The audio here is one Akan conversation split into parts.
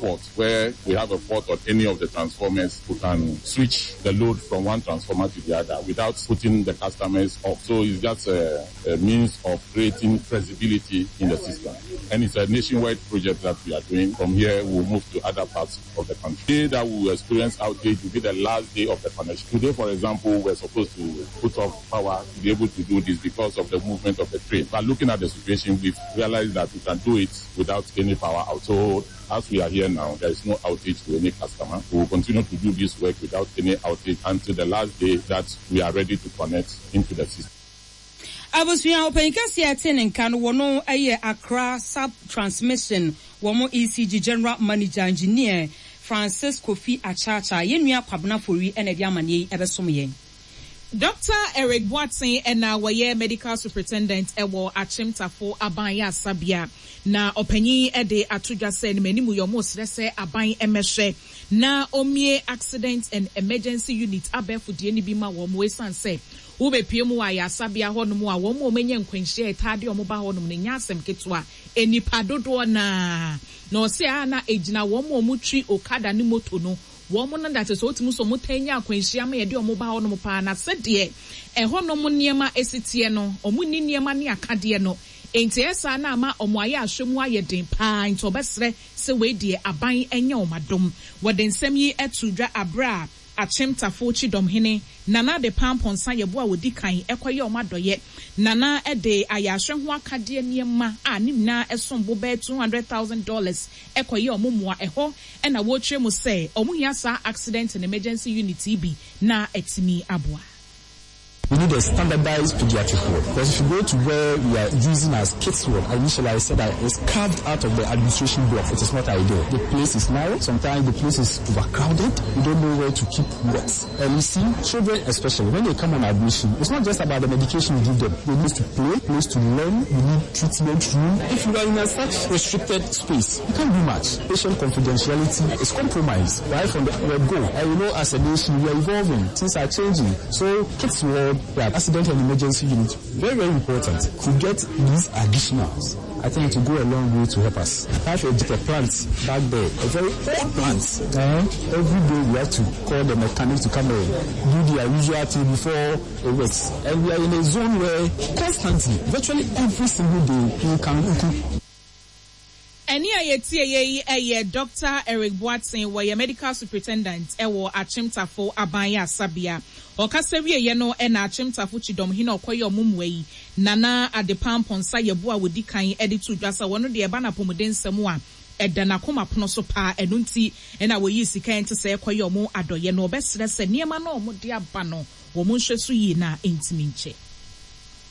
fault, where we have a fault on any of the transformers, we can switch the load from one transformer to the other without putting the customers off. So it's just a, a means of creating flexibility in the system. And it's a nationwide project that we are doing. From here, we'll move to other parts of the country. The day that we will experience outage will be the last day of the connection. Today, for example, we're supposed to put off power to be able to do this because of the movement of the train. But looking at the situation, we've realized that we can do it without any power out. So as we are here now, there is no outage to any customer. We will continue to do this work without any outage until the last day that we are ready to connect into the system. Abusua ɔpanyin kɛseɛ a ɛte ne nka no wɔno yɛ Accra Sub Transmission wɔn ECG General Manager Engineer Francis Kofi Akyakya. Yɛn nua Kwabena Fori na ɛde amaneɛ yi ɛbɛsom yɛn. Dɔkta Eric Boateng na wɔyɛ Medical Superintendent wɔ Akyem Tafo Aban Ayarsabea. Na ɔpanyin yi de ato dwa sɛ ne m'anim yɛ wɔresrɛ sɛ aban mmɛhwɛ na ɔmmue Accident and Emergency Unit abɛɛfo deɛ no bi ma wɔn esiane sɛ wobɛpue mu wɔ ayarsabea hɔnom a wɔn a wɔanya nkwanhyia a ɛtaa de wɔn ba hɔnom no nyɛ asɛm ketewa, nnipa dodoɔ no ara. Na ɔse a na ɛgyina wɔn a wɔtwi okada ne moto no Wɔn no da te sɛ wotumi sɛ wɔtaa nya akwanhyia ma yɛde wɔn ba hɔnom paa, na sɛdeɛ ɛhɔnom nneɛma si teɛ no, wɔnni nneɛma ne akadeɛ no, enti ɛyɛ saa na ama wɔn ayɛ ahwɛ mu ayɛ den paa, enti wɔbɛsrɛ sɛ wei deɛ aban nyɛ wɔn adom. Wɔde nsɛm yi too dwa aberɛ a Akyem Tafo Kyidɔmhene Nana Adepa Amponsah Yeboah a ɔdi kan kɔyɛɛ wɔn adɔeɛ. Nana de ayɛ ahwɛ ho akadeɛ nneɛma a ne nyinaa som bo bɛyɛ $200,000 kɔyɛɛ wɔn mmoa. Ɛhɔ na wɔrekyerɛ mu sɛ wɔhia saa Accident and Emergency Unit yi bi na atumi aboa. We need a standardized pediatric ward because if you go to where we are using as kids ward, initially I said that it's carved out of the administration block. It is not ideal. The place is narrow. Sometimes the place is overcrowded. You don't know where to keep what. And you see, children especially, when they come on admission, it's not just about the medication you give them. They need to play, place to learn, you need treatment room. If you are in a such restricted space, you can't do much. Patient confidentiality is compromised right from the word go. And you know, as a nation, we are evolving. Things are changing. So kids ward, yeah, accident and emergency unit, very, very important. To get these additionals, I think it will go a long way to help us. I have a plant back there, a very old plant. Eh? Every day we have to call the mechanic to come and do their usual thing before it works. And we are in a zone where constantly, virtually every single day, you can, you can Ɛnne a yɛtieeɛ yi yɛ Dɔkta Eric Boateng, wɔyɛ Medical Superintendent wɔ Akyem Tafo Aban Ayarsabea. Ɔkasa wieeɛ no na Akyem Tafo Kyidɔmhene a ɔkɔyɛɛ wɔn mmoa yi, Nana Adepa Amponsah Yeboah a wɔdi kan de too dwa sɛ ɔno deɛ ɛba no apɔmudensɛm a, ɛda n'akoma pono so paa, ɛno nti na wɔyii sika a ɛnte sɛɛ kɔyɛɛ wɔn adɔeɛ no. Ɔbɛsrɛ sɛ nneɛma no a wɔde aba no, wɔnhwɛ so yie na ɛntumi nkyɛ.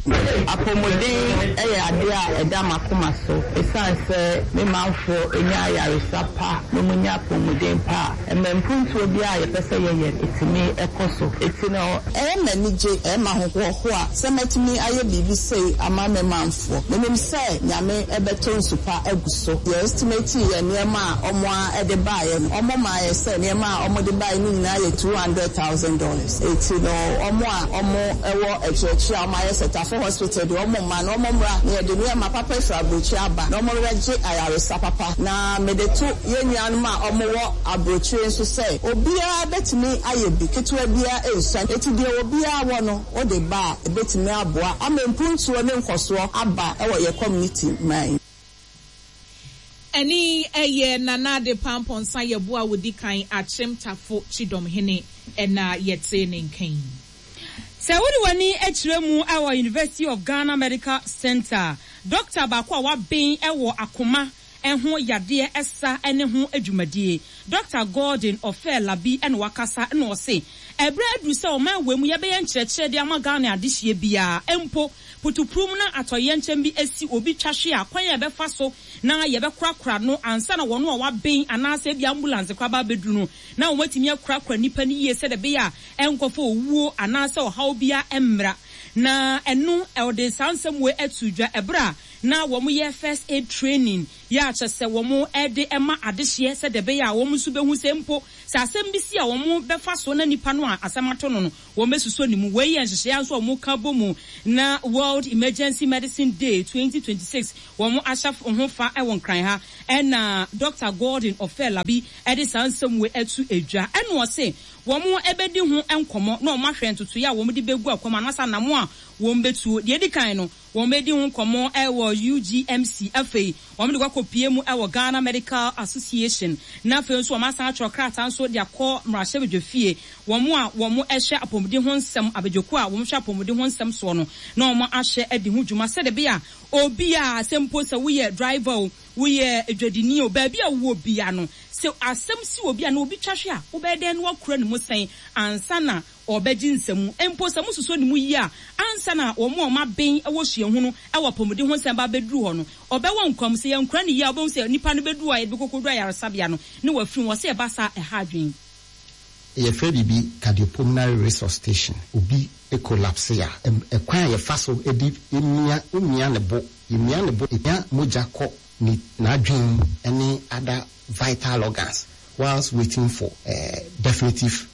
Apɔmuden yɛ adeɛ a ɛda m'akoma so. Ɛsiane sɛ me manfoɔ nya ayaresa pa na wɔnya apɔmuden pa a, ɛma mpuntuo biara a yɛpɛ sɛ yɛyɛ no, ɛtumi kɔ so. Enti no. Ɛyɛ me anigye, ɛyɛ me ahohoahoa sɛ mɛtumi ayɛ biribi sei ama me manfoɔ. Menim sɛ Nyame bɛtɔ nsu pa agu so. Yɛ estimate yɛ nneɛma a wɔn ara de baeɛ no, wɔn maa yɛ sɛ nneɛma a wɔde baeɛ no nyinaa yɛ $200,000. Enti no wɔn a wɔn wɔ akyiriakyiri a wɔn ayɛ sɛ Tafo Hospital deɛ wɔn mma no wɔn mmra na yɛde nneɛma papa afiri aburokyire aba na wɔn bɛgye ayaresa papa. Na mede to yɛn nuanom a wɔn wɔ aburokyire nso sɛ obiara bɛtumi ayɛ bi, ketewa biara nsua. Enti deɛ obiara wɔ no wode ba a ɛbɛtumi aboa ama mpuntuo ne nkɔsoɔ aba wɔ yɛn community man yi. Ɛne yɛ Nana Adepa Amponsah Yeboah a ɔdi kan Akyem Tafo Kyidɔmhene na yɛtee ne nka yi. Sɛ wode w'ani kyerɛ mu wɔ University of Ghana Medical Centre a, dɔkta baako a waben wɔ akoma ho yadeɛ sa ne ho dwumadie, Dɔkta Gordon Ofei Labi na wakasa na ɔse, ɛberɛ aduru sɛ ɔman wei mu yɛbɛyɛ nkyerɛkyerɛ de ama Ghana adehyeɛ biara, mpo putupurum na atɔyerɛnkyɛm bi asi obi twa hwe a, kwan a yɛbɛfa so na yɛbɛkorakora no ansa na wɔn a wɔaben anaasɛ ebia ambulance koraa ba abɛduru no na wɔatumi akorakora nnipa no yie sɛdeɛ ɛbɛyɛ a ɛnkɔfa owuo anaasɛ ɔhaw biara mmra. Na ɛno ɔde saa nsɛm wei ato dwa ɛberɛ a na wɔyɛ first aid training. yɛ a kyerɛ sɛ wɔde ma adehyeɛ sɛdeɛ ɛbɛyɛ a wɔn nso bɛhu sɛ mpo sɛ asɛm bi si a wɔbɛfa so na nipa no a asɛm ato no no wɔbɛsosɔ ne mu. Wei yɛ nhyehyɛeɛ a nso a wɔka bɔ mu na World Emergency Medicine Day 2026 wɔn ahyɛ ho fa wɔ Nkran ha ɛna Dɔkta Gordon Ofei-Labi de saa nsɛm wei ato dwa ɛna ɔse wɔbɛdi ho nkɔmmɔ na wɔahwɛ ntotoeɛ a wɔde bɛgu akwan mu anaasɛ anamɔ a wɔbɛtuo. Deɛ ɛdi kan no, wɔbɛdi ho nkɔmmɔ wɔ UGMC, afei wɔde kɔ akɔpue mu wɔ Ghana Medical Association, na afei nso wɔasan atwerɛ krataa nso de akɔ mmarahyɛbadwafie, wɔn a wɔhwɛ apɔmuden ho nsɛm, abadwakuo a wɔhwɛ apɔmuden ho nsɛm soɔ no, na wɔahwɛ adi ho dwuma sɛdeɛ ɛbɛyɛ a obiara, sɛ mpo sɛ woyɛ driver o, Woyɛ dwadini o, baabi a wowɔ biara no, sɛ asɛm si obi anaa obi twa hwe a, wobɛyɛ dɛn na woakura ne mu sɛn ansa na ɔrebɛgye nsamu? Mpo sɛ mosusuo ne mu yie a, ansa na wɔn a wɔaben wɔ suahunu wɔ apɔmuden ho nsɛm ba abɛduru hɔ no, ɔbɛwɔ nkwa mu. Sɛ yɛankura no yie a, wobɛhu sɛ nipa no bɛduru hɔ a yɛde bɛkɔkɔduru ayaresabea no, na wafiri mu. Wɔse ɛba saa a, ɛha adwene. Yɛfrɛ biribi cardiopulmonary resuscitation. Obi collapse a, ɛkwan a yɛfa so de mia, womia ne bo, yɛmia ne bo, ɛpia mogya kɔ ne n'adwene mu ne other vital organs whilst waiting for definitive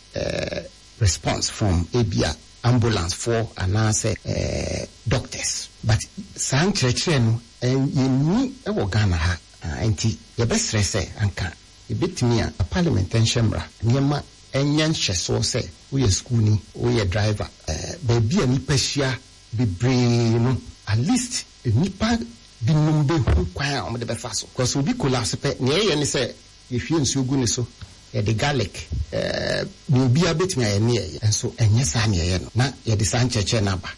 response from ebia ambulance foɔ anaasɛ doctors. But saa nkyerɛkyerɛ no yɛnni wɔ Ghana ha nti yɛbɛsrɛ sɛ anka Ebetumi a Parliament nhyɛ mmara, nneɛma nyɛ nhyɛsoɔ sɛ woyɛ sukuuni, woyɛ driver, baabi a nnipa hyia bebree no, at least nnipa binom bɛhu kwan a wɔde bɛfa so. Because obi collapse pɛ, nea yɛyɛ ne sɛ yɛhwie nsuo gu ne so, yɛde garlic, nea obiara bɛtumi ayɛ ne yɛyɛ. Nso ɛnyɛ saa na yɛyɛ no, na yɛde saa nkyerɛkyerɛ no aba.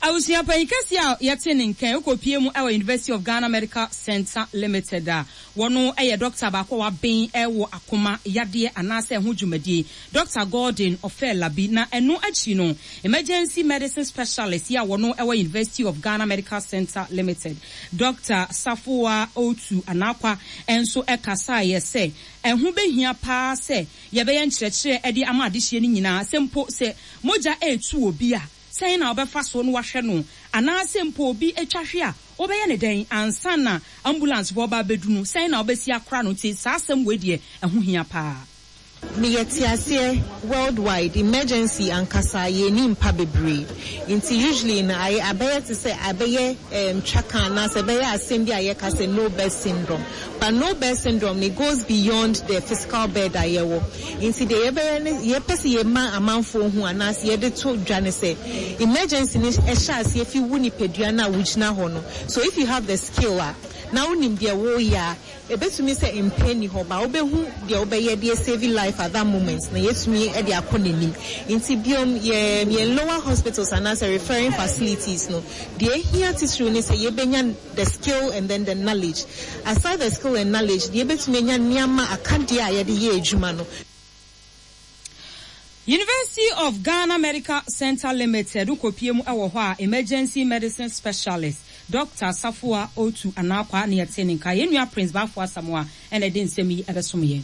Abusua panyin kɛseɛ a yɛte ne nka yi kɔpue mu wɔ University of Ghana Medical Centre Limited a wɔno yɛ dɔkta baako a waben wɔ akoma yadeɛ anaasɛ ɛho dwumadie, Dɔkta Gordon Ofei-Labi, na ɛno akyi no Emergency Medicine Specialist yi a wɔno wɔ University of Ghana Medical Centre Limited, Dɔkta Safoa Otu Anakwa nso kasaeɛ sɛ ɛho bɛhia paa sɛ Yɛbɛyɛ nkyerɛkyerɛ de ama adehyeɛ no nyinaa, sɛ mpo sɛ mogya retu obi a, sɛn na wobɛfa so na woahwɛ no, anaasɛ mpo obi atwa hwe a, wobɛyɛ no dɛn ansa na ambulancefoɔ reba abɛdu no, sɛn na wobɛsi akora no, nti saa asɛm wei deɛ ɛho hia paa. Me yɛ teaseɛ world wide emergency ankasa yɛn ni mpa bebree nti usually no ayɛ abɛyɛ te sɛ abɛyɛ ɛɛm twaka anaasɛ ɛbɛyɛ asɛm bi a yɛka sɛ no bed syndrome But no bed syndrome no it goes beyond the physical bed a yɛwɔ. Nti deɛ yɛbɛyɛ ne yɛpɛ sɛ yɛma amanfoɔ hu anaasɛ yɛde to dwa ne sɛ emergency no hyɛ aseɛ fi wo nipadua no a wogyina hɔ no. So if you have the skill a na wonim deɛ woreyɛ a, ɛbɛtumi sɛ mpɛ nni hɔ but wobɛhu deɛ wobɛyɛ de asave life at that moment na yɛatumi de akɔ n'anim. Nti biom yɛn yɛn lower hospitals anaasɛ referring facilities no deɛ ɛhia titiriw ne sɛ yɛbɛnya the skill and then the knowledge. Aside the skill and knowledge, deɛ yɛbɛtumi anya nneɛma akadeɛ a yɛde yɛ adwuma no. University of Ghana Medical Centre Limited wokɔpie mu wɔ hɔ a, Emergency Medicine Specialist, Dɔkta Safoa Otu Anarkwa na yɛtee ne nka. Yɛn nua Prince Baffour Asamoah na ɛde nsɛm yi bɛsom yɛn.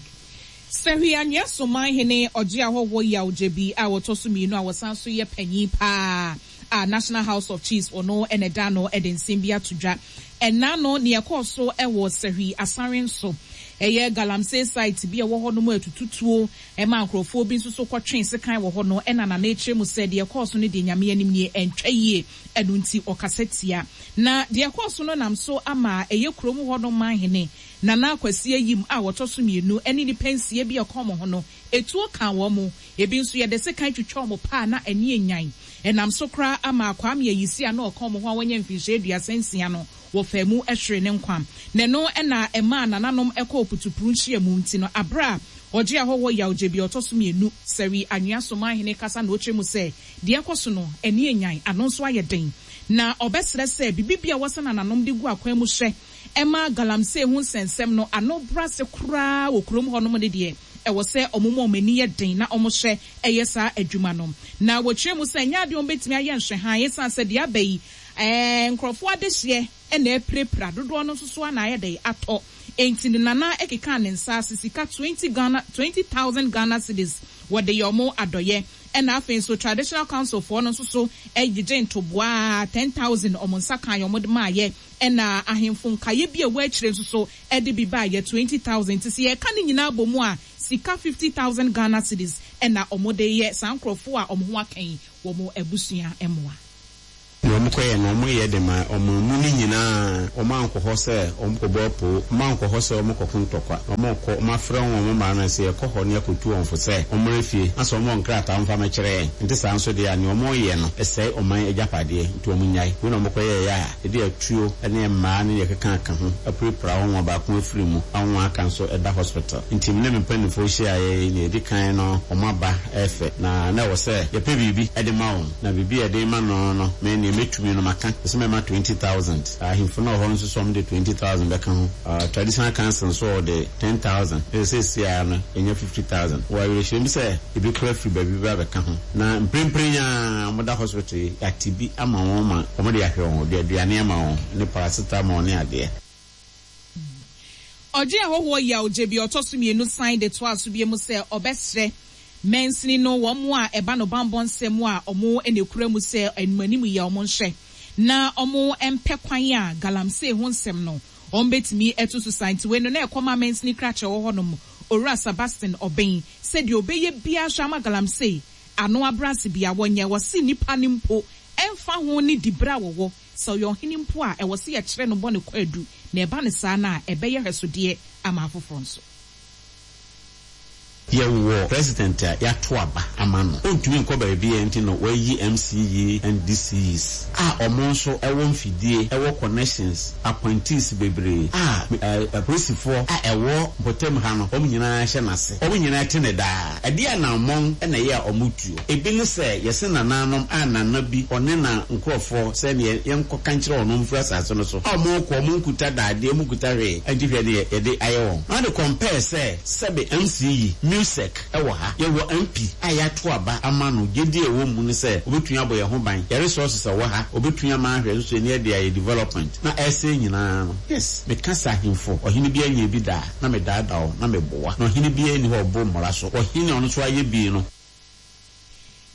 Sahwi Anwea Soman hene Ɔgye Ahɔhoɔ Yaw Gyebi a ɔtɔ so mmienu a ɔsan nso yɛ panyin paa a National House of Chiefs ɔno na ɛda ano de nsɛm bi ato dwa. Ɛnna no nea ɛkɔɔ so wɔ Sahwi Asare nso, ɛyɛ galamsey site bi a ɛwɔ hɔ nom a ɛtututuo ma nkurɔfoɔ bi nso so kɔtwee sekan wɔ hɔ no na Nana rekyerɛ mu sɛ deɛ ɛkɔɔ so no deɛ Nyame anim nie ɛntwa yie ɛno nti ɔkasa tia. Na deɛ ɛkɔɔ so no nam so ama ɛyɛ kurom hɔ nom manhene Nana Kwasi Ayim a ɔtɔ so mmienu ne nnipa nsia bi a ɛka wɔn ho no etuo kaa wɔn. Ebi nso yɛde sekan twitwa wɔn paa na ani anyan. Ɛnam so koraa ama Kwame Ayisi a na ɔka wɔn ho a wanya mfinhyia 36 no, wɔfaa mu hweree ne nkwa. Na ɛno na ɛmaa nananom kɔɔ putupru nhyiamu nti no, bere a ɔgyee ahɔhoɔ yaw gye bi a ɔtɔ so mmienu, Sɛwi Anwea Somanhene kasa na ɔkyerɛ mu sɛ deɛ ɛkɔ so no, ani anyan, ano nso ayɛ den. Na ɔbɛsrɛ sɛ biribi bi a wɔsɛ nananom de gu akwan mu hyɛ ma galamsey ho nsɛnsɛm no ano brɛ ase koraa wɔ kurom hɔnom no deɛ, ɛwɔ sɛ wɔn ma wɔn ani yɛ den na wɔhyɛ yɛ saa adwuma no. Na wɔkyerɛ mu sɛ ɛnyɛ adeɛ a wɔbɛtumi ayɛ nhwɛhan ɛsiane sɛ deɛ aba yi, nkurɔfoɔ adehyeɛ na apirapira, dodoɔ no nso so ara na ayɛ dɛn atɔ. Enti ne nana kekaa ne nsa ase sika 20 Ghana, 20,000 Ghana cedis, wɔde yɛ wɔn adɔeɛ. Ɛna afei nso Traditional Council foɔ no nso so gyegye ntoboa 10,000 wɔn nsa kaeɛ wɔn de maayɛ. Ɛna ahemfo nkaeɛ bi a ɛwɔ akyire nso so de bi baeɛ 20,000. Nti sɛ yɛka ne nyinaa bɔ mu a, sika 50,000 Ghana cedis na wɔde reyɛ saa nkorɔfoɔ a wɔn ho aka yi wɔn abusua mmoa. Nea wɔkɔyɛɛ no, wɔyɛ de maa ɔman mu no nyinaa. Wɔankɔ hɔ sɛ wɔrekɔbɔ apoo, wɔankɔ hɔ sɛ wɔrekɔko ntɔkwa. Na wɔrekɔ, wɔafrɛ wɔn mmaa no sɛ, Yɛkɔ hɔ na yɛakɔtu wɔn fo sɛ wɔmmra fie, na sɛ wɔwɔ nkrataa a wɔmfa mmɛkyerɛ yɛn. Ɛnte saa nso deɛ a, nea wɔreyɛ no sɛe ɔman agyapadeɛ, nti wɔnnyae. Wei na wɔkɔyɛeɛ a ɛde atuo ne mmaa ne deɛ ɛkeka ho apirapira wɔn a baako afiri mu a wɔn a aka nso da hospital. Nti me ne me mpanimfoɔ hyiaeɛ yi, nea ɛdi kan no wɔaba ɛfɛ, na na ɛwɔ sɛ yɛpɛ biribi de ma wɔn. Na biribi a yɛde rema no no, me, nea mɛtumi no maka, ɛsɛ mɛma 20,000. Ahemfo no a wɔwɔ hɔ no nso sɛ wɔde 20,000 bɛka ho. Traditional Council nso wɔde 10,000. Ɛsɛ seesei ara no yɛnya 50,000. Wɔ awerɛhyerɛm sɛ ebi koraa firi baabi bɛba abɛka ho. Na mprempren yi ara wɔda hospital yi, yɛate bi ama wɔn ma wɔde ahwɛ wɔn, wɔde aduane ama wɔn ne paracetamol ne adeɛ. Ɔgye ahɔhoɔ yaw gye bi ɔtɔ so mienu san de toaa so bio mu sɛ ɔbɛsrɛ mansini no wɔn a ɛba no banbɔ nsɛm a wɔn na ɛkura mu sɛ animanim yɛ wɔn nhwɛ na wɔn mpɛ kwan a galamsey ho nsɛm no wɔn bɛtumi atu so saa nti wei no na ɛkɔma mansini krakyɛ wɔ hɔ nom Owura Sebastian Obeng sɛ deɛ ɔbɛyɛ biara hwɛ ama galamsey ano abrɛ ase bia wɔnyɛ wɔse nnipa no mpo ɛmfa ho ne diberɛ a wɔwɔ Sɛ ɔyɛ ɔhene mpo a, ɛwɔ sɛ yɛkyerɛ no bɔne kwaadu, na ɛba no saa no a, ɛbɛyɛ hwɛsodeɛ ama afoforɔ nso. Yɛwɔ president a yɛato aba ama no, ɔntumi nkɔ baabiara nti na wɔayi MCE and DCEs a wɔn nso wɔ mfidie, wɔ connections, appointees bebree a apolisifoɔ a ɛwɔ mpɔtam ha no wɔn nyinaa hyɛ n'ase, wɔn nyinaa te no daa. Ɛdeɛn anammɔn na ɛyɛ a wɔtuo? Ebi ne sɛ yɛse nananom a nana bi ɔne na nkorɔfoɔ sɛ neɛ yɛnkɔka nkyerɛ wɔn wɔmfiri asase no so a wɔrekɔ wɔn nkuta dadeɛ wɔn nkuta hwee nti hwɛ neɛ yɛde ayɛ wɔn. Na wode compare sɛ sɛbe MC yi MUSEC wɔ ha yɛwɔ MP a yɛato aba ama no gyedie a ɛwɔ mu ne sɛ ɔbɛtumi abɔ yɛn ho ban yɛ resources a ɛwɔ ha ɔbɛtumi ama ahwɛ nso yɛni ɛde ayɛ development na ɛresɛe nyinaa no yes meka sɛ ahemfo ɔhene biara nyɛɛ bi da a na medaadaa wo na meboa na ɔhene biara nni hɔ a ɔboro mmara so ɔhene a ɔno nso ayɛ bi no.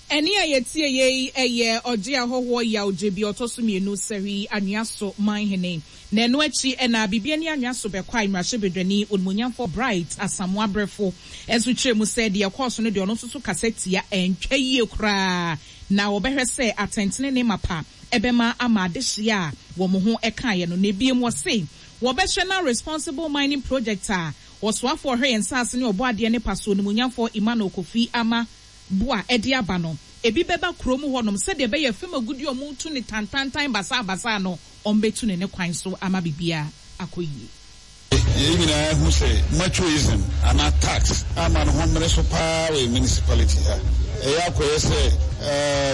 Ɛnne a yɛtieeɛ yi yɛ Ɔgye Ahɔhoɔ Yaw Gyebi ɔtɔ so mienu Sahwi Anwea So Manhene. Na ɛno akyi na Bibiani Anwea So Bɛkwae Mmarahyɛbadwani Onimuonyamfoɔ Bright Asamoah Brefo nso kyerɛɛ mu sɛ deɛ ɛkɔɔ so no deɛ ɔno nso so kasa tia ɛntwa yie koraa na wɔbɛhwɛ sɛ atɛntenenee mapa ɛbɛma ama adehyeɛ a wɔn ho kaeɛ no. Na ebiem wɔse wɔbɛhwɛ na Responsible Mining Project a Ɔsoafoɔ a ɔhwɛ yɛn nsaase ne ɔbɔadeɛ ne paso onimuonyamfoɔ Emmanuel Kofi Armah Buah de aba no, ebi bɛba kurom hɔnom sɛdeɛ ɛbɛyɛ fam agudeɛ a wɔretu no tantantan basaabasaa no, wɔbɛtu no ne kwan so ama biribiara akɔ yie. Yɛn nyinaa hu sɛ machoism anaa tax ama ne ho mmere so paa wɔ yɛn municipality ha. Ɛyɛ akɔyɛ sɛ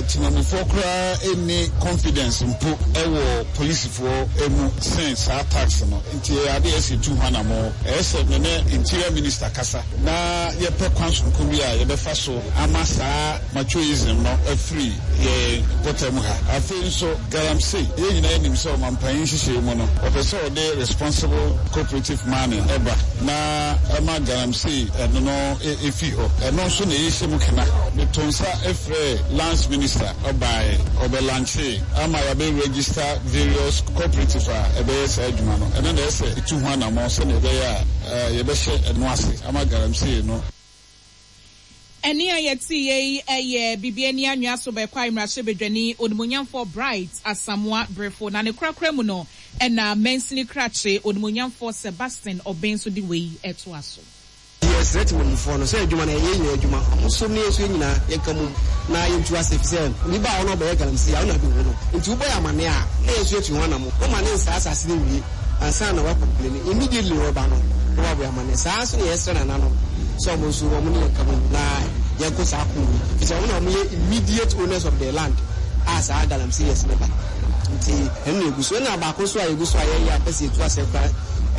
temamufoɔ koraa nni confidence mpo wɔ polisifoɔ mu sen saa tax no. Nti ɛyɛ ade a ɛsɛ yɛtu ho anamɔn. Ɛyɛ sɛ me ne Interior Minister kasa na yɛpɛ kwan soronko bi a yɛbɛfa so ama saa machoism no afiri yɛn mpɔtam ha. Afei nso galamsey, yɛn nyinaa nim sɛ ɔmampanyin nhyehyɛe mu no, ɔpɛ sɛ ɔde responsible cooperative mining ba na ɛma galamsey ɛno no fi hɔ. Ɛno nso na yɛhyɛ mu kena. Meto nsa frɛɛ Lands Minister, ɔbaeɛ, ɔbɛlankyee ama yɛabɛ register various cooperative a ɛbɛyɛ saa adwuma no. Ɛno na ɛsɛ sɛ yɛtu ho anammɔn sɛdeɛ ɛbɛyɛ a yɛbɛhyɛ ɛno ase ama galamsey no. Ɛnne a yɛteeɛ yi yɛ Bibiani Anwea Sobɛkwae Mmarahyɛbadwani Onimuonyamfoɔ Bright Asamoah Brefo, na ne korakora mu no na Mansini Krakye Onimuonyamfoɔ Sebastian Obeng nso de wei toa so. Yɛsrɛ temamufoɔ no sɛ adwuma no ɛyɛ yɛn nyinaa adwuma, wɔn nso ne yɛn nso yɛn nyinaa yɛnka mmom na yɛntu ase efisɛ obi ba a ɔno ɔbɛyɛ galamsey a ɔno na bɛhu no nti wobɔ yɛn amaneɛ a na yɛn nso yɛatu ho anamo, woma ne nsaa asase no nwie ansa na wakɔmpleni, immediately ɔreba no na wabɔ yɛn amaneɛ. Saa ara nso na yɛsrɛ nananom sɛ wɔn nso wɔn ne yɛn nka mmom na yɛnko saa ko yi efisɛ wɔn na wɔyɛ immediate owners of the land a saa galamseyers no ba nti ɛno na yɛgu so. Ɛna baako nso a yɛgu so a yɛyɛ a yɛpɛ sɛ yɛtu aseɛ koraa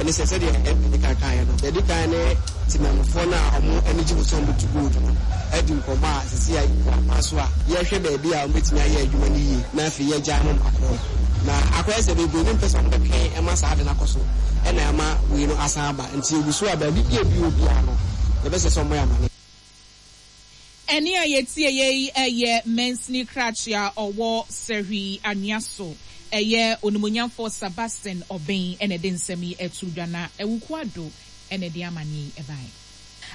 ne sɛ sɛdeɛ MP de kan kaeɛ no, yɛdi kan ne temanmufoɔ no a wɔn ani gye ho sɛ wɔbɛtu gold no adi nkɔmmɔ a seesei a yɛwɔ akwan so a yɛrehwɛ baabi a wɔbɛtumi ayɛ adwuma no yie na afei yɛagyae ma wɔakɔ. Na akɔyɛ sɛ bebree no mpɛ sɛ wɔbɛtwɛn ma saa ade no akɔ so na ɛma wei no asan aba. Nti yɛgu so a baabi bi a ebi wɔ biara no, yɛbɛsrɛ sɛ wɔmmɔ yɛn amanneɛ. Ɛnne a yɛtieeɛ yi yɛ mansini krakye a ɔwɔ Sahwi Anwea so. Ɛyɛ Onimuonyamfoɔ Sebastian Obeng na ɛde nsɛm yi too dwa na Awuku Addo na ɛde amaneɛ yi baeɛ.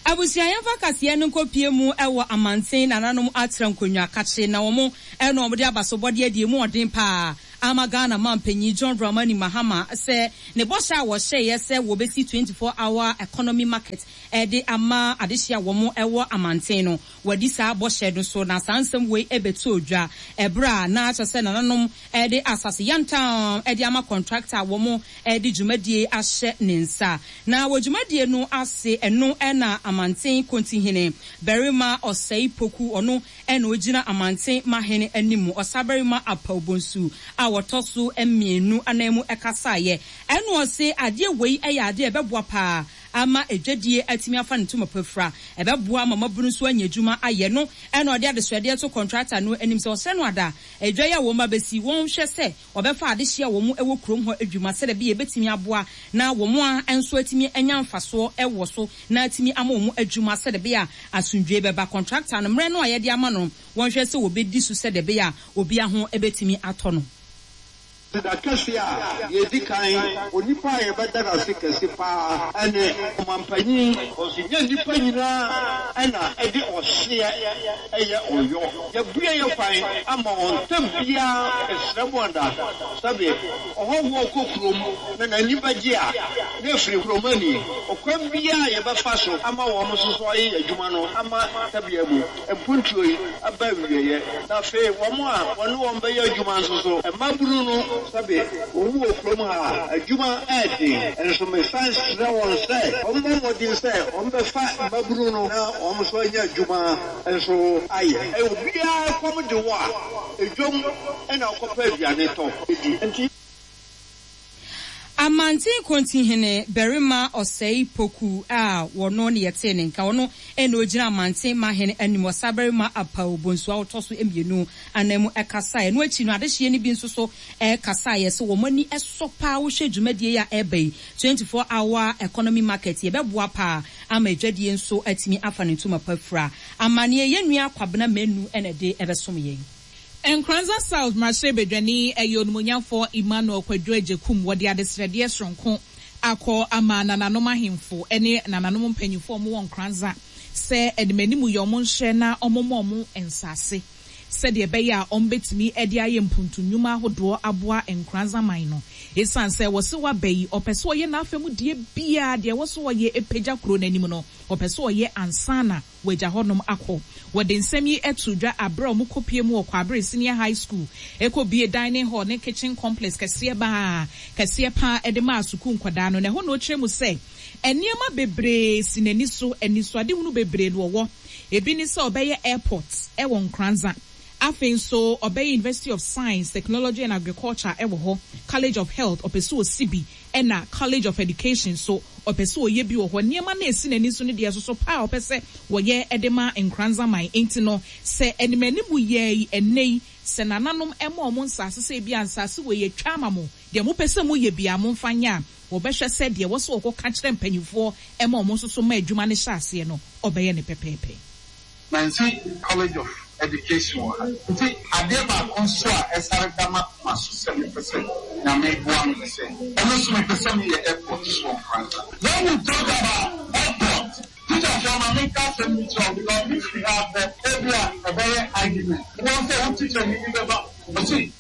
Abusua yɛmfa kaseɛ no nkɔ pie mu wɔ amanten nananom atra nkonnwa kakye na wɔn na wɔn de abasobɔdeɛ deɛ emu ɔden paa ama Ghana manpanyin John Dramani Mahama sɛ ne bɔhyɛ a wɔhyɛeɛ sɛ wɔbɛsi 24 hour economy market de ama adehye a wɔn wɔ amanten no wɔadi saa bɔhyɛ no so na saa nsɛm wei bɛtɔɔ dwa ɛberɛ a na kyerɛ sɛ nananom de asase yantam de ama kɔntrakta a wɔn de dwumadie ahyɛ ne nsa. Na wɔ dwumadie no ase ɛno na Amanten Kontihene Barima Ɔsɛe Poku, ɔno na ɔgyina Amanten Mahene anim, Ɔsabarima Apaw Bonsu a ɔtɔ so mmienu anan mu kasaeɛ. Ɛna ɔse adeɛ wei yɛ adeɛ a ɛbɛboa paa ama adwadie atumi afa ne ntoma pa afira, ɛbɛboa ama mmabunu nso anya adwuma ayɛ. No na ɔde adesrɛdeɛ to kɔntrakta no anim sɛ ɔsrɛ no ada adwa yi a wɔn abɛsi, wɔnhwɛ sɛ Wɔbɛfa adehye a wɔn wɔ kurom hɔ adwuma sɛdeɛ ɛbɛyɛ ɛbɛtumi aboa na wɔn a nso atumi anya mfasoɔ wɔ so na atumi ama wɔn adwuma sɛdeɛ ɛbɛyɛ a asomdwoeɛ bɛba. Kɔntrakta no, mmerɛ no a yɛde ama no no, wɔnhwɛ sɛ wɔbɛdi so sɛdeɛ ɛbɛyɛ a obiara ho bɛtumi atɔ no. Aseda kɛse a deɛ ɛdi kan, onipa a yɛbɛda no ase kɛse pa ara ne ɔmampanyin. Ɛnyɛ nnipa nyinaa na ɛde ɔhyeɛ yɛ ɔyɔ. Yɛabue yɛn kwan ama wɔn tɛm biara ɛsrɛ mo ada. Sɛbe ɔhɔhoɔ kɔ kurom na n'ani bɛgye a, na ɛfiri kuromani. Ɔkwan biara a yɛbɛfa so ama wɔn nso so ayɛ adwuma no ama tɛbea mu mpuntuo yi aba awieɛ. Na afei wɔn a wɔne wɔn bɛyɛ adwuma nso so, mmabunu no, sɛbe wɔn wɔ kurom ha a, adwuma yɛ den. Nso mesan srɛ wɔn sɛ wɔmmɔ mmɔden sɛ wɔbɛfa mmabunu no na wɔn nso anya adwuma nso ayɛ. Obiara kɔm de wo a, dwam na wokɔpɛ aduane tɔ di. Enti. Amanten Kontihene Barima Ɔsɛe Poku a wɔno ne yɛtee ne nka, ɔno na ɔgyina Amanten Mahene anim, Ɔsabarima Apaw Bonsu a ɔtɔ so mmienu ananmu kasaeɛ. Ɛno akyi no, adehyeɛ no bi nso so kasaeɛ sɛ wɔn ani sɔ paa wohwɛ dwumadie yi a ɛreba yi, 24 hour economy market yi, ɛbɛboa paa ama adwadie nso atumi afa ne ntoma pa afira. Amaneɛ yɛn nua Kwabena Manu na ɛde ɛbɛsom yɛn. Nkoranza South mmarahyɛbadwani yɛ Onimonyamfoɔ Emmanuel Kwadwo Agyekum. Wɔde adesrɛdeɛ soronko akɔ ama nananom ahemfo ne nananom mpanyinfoɔ a wɔwɔ Nkoranza sɛ animanimu yɛ wɔn nhyɛ na wɔmmɔ wɔn nsaase sɛdeɛ ɛbɛyɛ a wɔbɛtumi de ayɛ mpuntu nnwuma ahodoɔ aboa Nkoranza man no. Esiane sɛ wɔse waba yi, ɔpɛ sɛ ɔyɛ n'afa mu deɛ biara, deɛ ɛwɔ sɛ ɔyɛ pagya kuro no anim no, ɔpɛ sɛ ɔyɛ ansa na wɔagya hɔnom akɔ. Wɔde nsɛm yi too dwa bere a wɔkɔpuee mu wɔ Kwaabere Senior High School kɔbuee dining hall ne kitchen complex kɛseɛ baa kɛseɛ pa ara de maa sukuu nkwadaa no. Na ɛhɔ na ɔkyerɛ mu sɛ nneɛma bebree si n'ani so, anisoadehunu bebree na ɔwɔ. Ebi ne sɛ ɔbɛyɛ airport wɔ Nkoranza. Afei nso ɔbɛyɛ University of Science, Technology and Agriculture wɔ hɔ, College of Health ɔpɛ sɛ ɔsi bi ɛna College of Education nso ɔpɛ sɛ ɔyɛ bi wɔ hɔ. Nneɛma no a ɛsi n'ani so no deɛ ɛsoso paa a ɔpɛ sɛ wɔyɛ de ma Nkoranza man. Enti no, sɛ animanimu yɛɛ yi ɛnnɛ yi, sɛ nananom ma wɔn nsaase sɛ ebia nsaase wei yɛatwa ama mo, deɛ mopɛ sɛ moyɛ biara momfa nyɛ a, wɔbɛhwɛ sɛ deɛ ɛwɔ sɛ wɔkɔka kyerɛ mpanimfoɔ ma wɔn nso so ma adwuma no hyɛ aseɛ no, ɔbɛyɛ no pɛpɛɛpɛ. Nancy College of Education wɔ ha. Nti adeɛ baako nso a ɛsare da m'akoma so sɛ mepɛ sɛ Nyame boa me ne sɛ, ɛno nso mepɛ sɛ meyɛ airport so wɔ Nkoranza. When we talk about airport, teacherfoɔ ma menka asɛm bi kyerɛ wo because me firi ha akɔ, ebia ɛbɛyɛ argument. Wobɛhu sɛ wo teacherni bi bɛba, ɔse,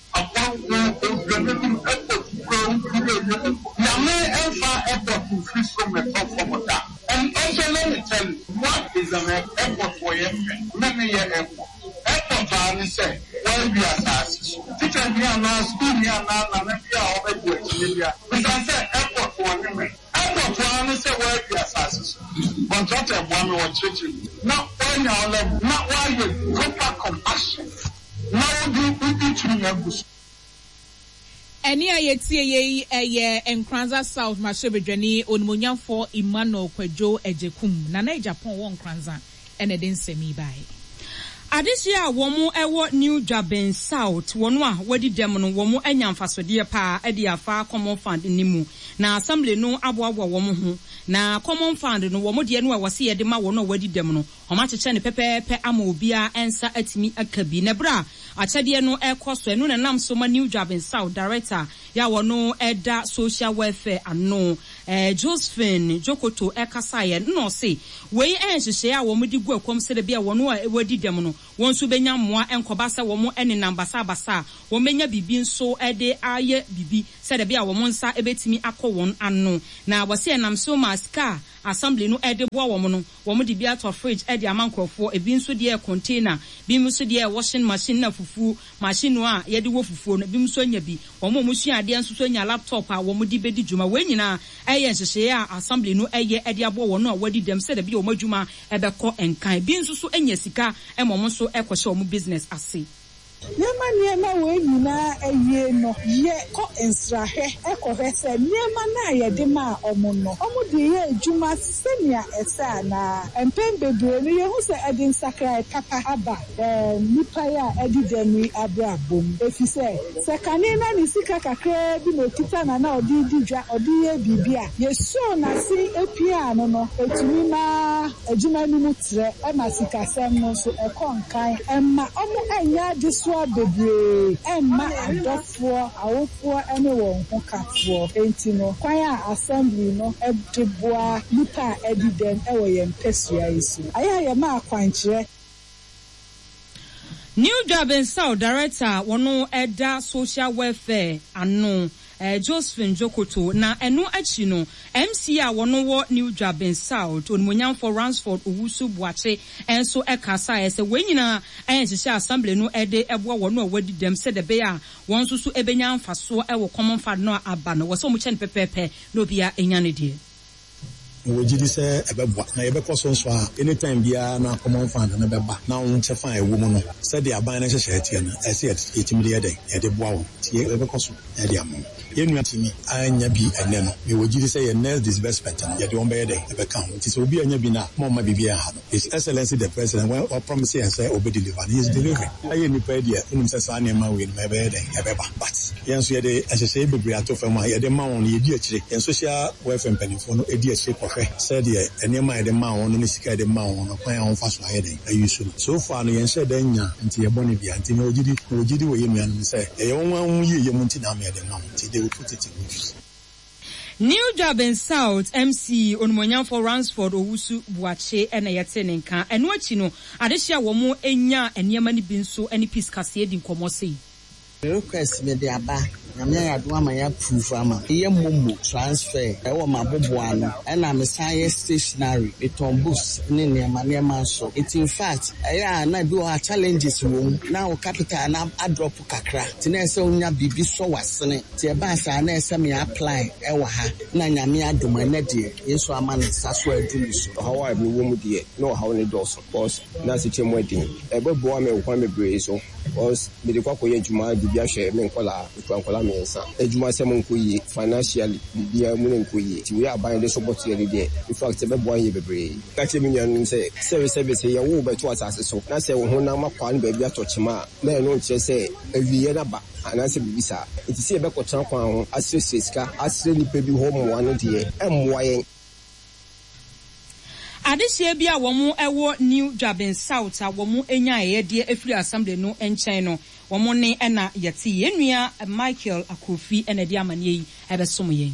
Nyame mfa airport mfiri soro mmɛtɔ fam da. And also let me tell you what is an airport wɔ yɛ fɛ me me yɛ airport. Airport aa ne sɛ wɔawi asaase so. Teacher ni anaa school ni anaa nana bi a ɔbɛgye akyinnye bia bisa sɛ airport wɔ ne mɛ. Airport aa ne sɛ wɔawi asaase so. Contractor boa me wɔ kyerɛkyerɛ mu na wɔanya wo level na wɔayɛ proper compaction. Na wode wo tumi agu so. Ɛnne a yɛtie yei yɛ Nkoranza South Mmarahyɛbadwani Onimuonyamfoɔ Emmanuel Kwadwo Agyekum, Nana Agyapong wɔ Nkoranza na ɛde nsɛm yi baeɛ. Adehyeɛ a wɔn wɔ New Dwabin South, wɔn a wɔadi dɛm no wɔn anya mfasodeɛ paa de afa Common Fund no mu. Na Assembly no aboaboa wɔn ho. Na Common Fund no wɔn deɛ no a ɛwɔ sɛ yɛde ma wɔn a wɔadi dɛm no, wɔn akyekyɛ no pɛpɛɛpɛ ama obiara nsa atumi aka bi. Na berɛ a akyɛdeɛ no rekɔ so, ɛno na ɛnam so ma New Dwabin South Director yɛ a ɔno da Social Welfare ano, Josephine Djokoto kasaeɛ no na ɔse wei yɛ nhyehyɛeɛ a wɔde gu akwam sɛdeɛ ɛbɛyɛ a wɔn a wɔadi dɛm no wɔn nso bɛnya mmoa ɛnkɔba sɛ wɔn nenam basabasa a wɔbɛnya biribi nso de ayɛ biribi sɛdeɛ ɛbɛyɛ a wɔn nsa bɛtumi akɔ wɔn ano. Na wɔse ɛnam so ma sika a Assembly no de boa wɔn no wɔde bi atɔ fridge de ama nkorɔfoɔ, ebi nso deɛ yɛ container, binom nso deɛ yɛ washing machine na fufuo machine a yɛde wɔ fufuo no, ebinom nso anya bi. Wɔn a wɔsua adeɛ nso so anya laptop a wɔde bɛdi dwuma. Wei nyinaa yɛ nhyehyɛeɛ a Assembly no yɛ de aboa wɔn a wɔadi dɛm sɛdeɛ ɛbɛyɛ wɔn adwuma bɛkɔ nkan. Ebi nso so anya sika ma wɔn nso kɔhyɛ wɔn business ase. Yɛma nneɛma wei nyinaa awie no, yɛ kɔ nsrahwɛ kɔhwɛ sɛ nneɛma no a yɛde maa wɔn no, wɔde yɛ adwuma sɛnea ɛsɛ anaa. Mpɛn bebree no, yehu sɛ ɛde nsakrae papa aba nnipa yi a adi dɛm yi abrabɔ mu, efisɛ sɛ kane na ne sika kakraa bi na okita na na ɔde redi dwa, ɔde reyɛ biribi a, yesoo n'asen piaa no no, etumi ma adwuma no mu trɛ, ɛma sikasɛm no nso ɛkɔ nkan, ɛmma wɔnnyɛ adesoa bebree mma adɔfoɔ, awofoɔ ne wɔn hokafoɔ. Enti no, kwan a Assembly no de boa nnipa a adi dɛm wɔ yɛn mpasua yi so. Ayɛ a yɛma akwankyerɛ. New Dwabensau Director a wɔno da Social Welfare ano, Josephine Djokoto, na ɛno akyi no MC a wɔno wɔ New Dwabin South, Onimuonyamfoɔ Ransford Owusu Boakye nso kasaeɛ sɛ wei nyinaa yɛ nhyehyɛɛ a Assembly no de boa wɔn a wɔadi dɛm sɛdeɛ ɛbɛyɛ a wɔn nso so bɛnya mfasoɔ wɔ Common Fund no a aba no. Wɔ sɛ wɔkyɛ no pɛpɛɛpɛ na obiara nya ne deɛ. Mewɔ gyidi sɛ ɛbɛboa na yɛbɛkɔ so nso a any time biara na common fund no bɛba na wo kyɛfa a ɛwɔ mu no sɛdeɛ aban no nhyehyɛeɛ teɛ no ɛsɛ sɛ yɛtumi de yɛ dɛn? Yɛde boa wɔn nti yɛbɛkɔ so na yɛde ama wɔn. Yɛn nua tumi annya bi ɛnnɛ no mewɔ gyidi sɛ yɛn next disbursement no yɛde wɔn bɛyɛ dɛn? Ɛbɛka ho nti sɛ obi annya bi no a mma ɔmma biribiara nha no. His Excellency the President when ɔ promise yɛn sɛ ɔbɛ deliver no he is delivering. Yɛn nnipa yi deɛ wonim sɛ saa nneɛma wei nom ɛbɛyɛ dɛn ɛbɛba but yɛn nso yɛde nhyehyɛeɛ bebree ato fam a yɛde ma wɔn no yɛdi akyire. Yɛn social welfare mpanimfoɔ no di akyire kɔhwɛ sɛdeɛ nneɛma a yɛde maa wɔn no ne sika a yɛde maa wɔn no kwan a wɔfa so ayɛ dɛn ayi so no. So far no yɛnhyɛɛ da nnya nti yɛ bɔne biara nti mewɔ gyidi mewɔ gyidi wɔ yɛn nuanom sɛ ɛyɛ wɔn ara wɔn yieyɛ mu nti na ama yɛde ma wɔn nti they will put it in good use. New Dwabin South MC Onimuonyamfoɔ Ransford Owusu Boakye na yɛtee ne nka. Ɛno akyi no, adehye a wɔnyaa nneɛma no bi nso ne Peace Kaseɛ di nkɔmmɔ sei. Me request mede aba, Nyame ayɛ adom ama yɛ approve ama me. Meyɛ momo transfer ɛwɔ m'aboboa ano, ɛna me san yɛ stationery, me tɔn books ne nneɛma nneɛma nso. Nti infact ɛyɛ a na ebi wɔ hɔ a challenges wɔ mu, na wo capital no adrop kakra, nti na ɛsɛ sɛ wonya biribi sɔ w'asene. Nti ɛbaa saa na ɛsɛ me apply ɛwɔ ha, na Nyame adom ɛnɛ deɛ Yesu ama ne nsa so adu me so. Ɔhaw a mewɔ mu deɛ, na ɔhaw no dɔɔso cos na asekyerɛ mu ɛden. Ɛbɛboa me wɔ kwan bebree so cos mede kɔ akɔyɛ adwuma de bi ahwɛ me nkwadaa, mekura nkwadaa mmiɛnsa. Adwumasɛm nkɔ yie, financially biribiara mu no nkɔ yie. Nti wei a aban de support yɛn no deɛ, in fact ɛbɛboa yɛn bebree. Meka kyerɛ me nuanom sɛ, sɛbesɛbe sɛ yɛwo wo bɛto asase so na sɛ wo honam akwaa no baabi atɔ kyema a, na ɛno nkyerɛ sɛ awieɛ no aba anaasɛ biribi saa. Enti sɛ yɛbɛkɔtena kwan ho asrɛsrɛ sika, asrɛ nnipa bi hɔ mmoa no deɛ, ɛmmoa yɛn. Adehyeɛ bi a wɔn wɔ New Dwabin South a wɔn nya ayɛyɛdeɛ afiri Assembly no nkyɛn no, wɔn nne na yɛte. Yɛn nua Michael Akrofi na ɛde amaneɛ yi bɛsom yɛn.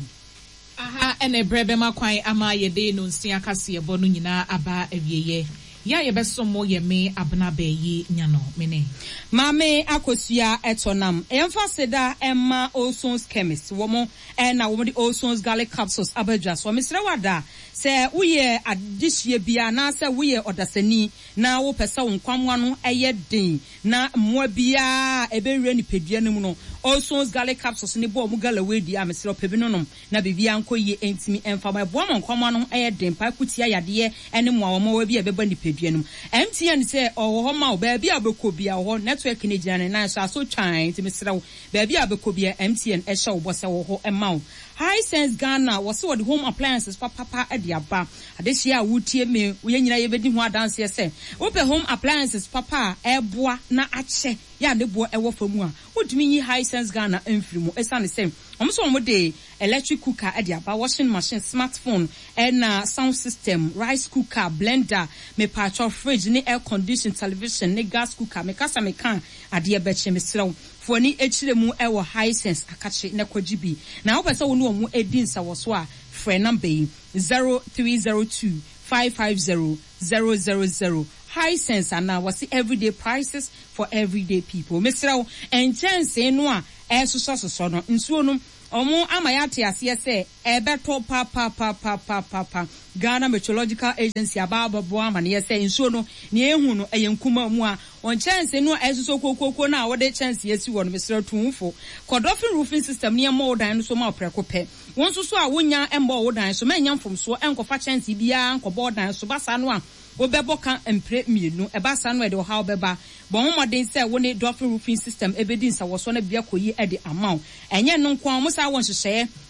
Aha na ɛberɛ bɛma kwan ama yɛde nonsia kaseɛbɔ no nyinaa aba awieɛ. Yɛ a yɛbɛsom mo yɛ me Abena Bɛyi Nyano, me ne. Maame Akosua Ɛtɔnam. Yɛmfa aseda mma Olson's Chemist, wɔn na wɔde Olson's Garlic Capsules aba dwa soɔ. Mesrɛ wo ada, sɛ woyɛ adehyeɛ bi anaasɛ woyɛ ɔdasani na wopɛ sɛ wo nkwammoa no yɛ den na mmoa biara a ɛbɛwura nipadua no mu no, Olson's Garlic Capsules no bɔ wɔn galloway di a, mesrɛ wo pɛ bi nonom na biribiara nkɔ yie ntumi mfa ma. Ɛboa ma nkwammoa no ho yɛ den paa ko tia yadeɛ ne mmoawammoawa bi a ɛbɛba nipadua no mu. MTN sɛ ɔwɔ hɔ ma wo, baabi a wobɛkɔ biara ɔwɔ hɔ, network no gyina ne nan so, aso twann, nti mesrɛ wo, baabi a wobɛkɔ biara MTN hyɛ wo bɔ sɛ ɔwɔ hɔ ma wo. Hisense Ghana, wɔse wɔde home appliances papapa de aba. Adehyeɛ a woretie me, yɛn nyinaa yɛbɛdi ho adanseɛ sɛ, wopɛ home appliances papa a ɛboa na akyɛ yɛ a ne boɔ wɔ fam a, wontumi nyi Hisense Ghana mfiri mu. Ɛsiane sɛ wɔn nso wɔde electric cooker de aba, washing machine, smart phone, ɛna sound system, rice cooker, blender, mepaakyɛw fridge ne air condition, television ne gas cooker. Meka sɛ meka a, adeɛ bɛkye. Mesrɛ wo, fa w'ani kyerɛ mu wɔ Hisense akakye na kɔgye bi. Na wopɛ sɛ wo ne wɔn di nsawɔsoɔ a, frɛ number yi, 0302 550 000. Hisense anaa wɔse everyday prices for everyday people. Mesrɛ wo, nkyɛnsee no a ɛresosɔsosɔ no, nsuo no, wɔn ama yɛate aseɛ sɛ ɛbɛtɔ papapapapapa. Ghana Meteorological Agency aba abɛbɔ amaneɛ sɛ nsuo no, nea yɛhu no, ɛyɛ nkumaa mu a. Wɔn nkyɛnsee no a ɛresosɔ kuokuokuo no a wode kyɛnsee asi hɔ no, mesrɛ wo, tu wo fo. Kɔ Dolphin Roofing System na yɛmmɔ wo dan no so ma wo prɛko pɛ. Wo nso so a wonnya mmɔɔ wo dan so, mɛnyɛ mfomsoɔ nkɔfa kyɛnsee biara nkɔbɔ wo dan so. Ba saa no a, wobɛbɔ ka mprɛ mmienu. Ɛba saa no a, ɛde ɔhaw bɛba. Bɔ ho mmɔden sɛ wo ne Dolphin Roofing System bɛdi nsawɔsoɔ na biribi akɔ yie de ama wo. Ɛnyɛ ɛno nko ara, wɔsan wɔ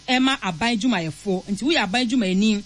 nhyehyɛeɛ ma aban adwumayɛfoɔ. Nti woyɛ aban adwumayɛni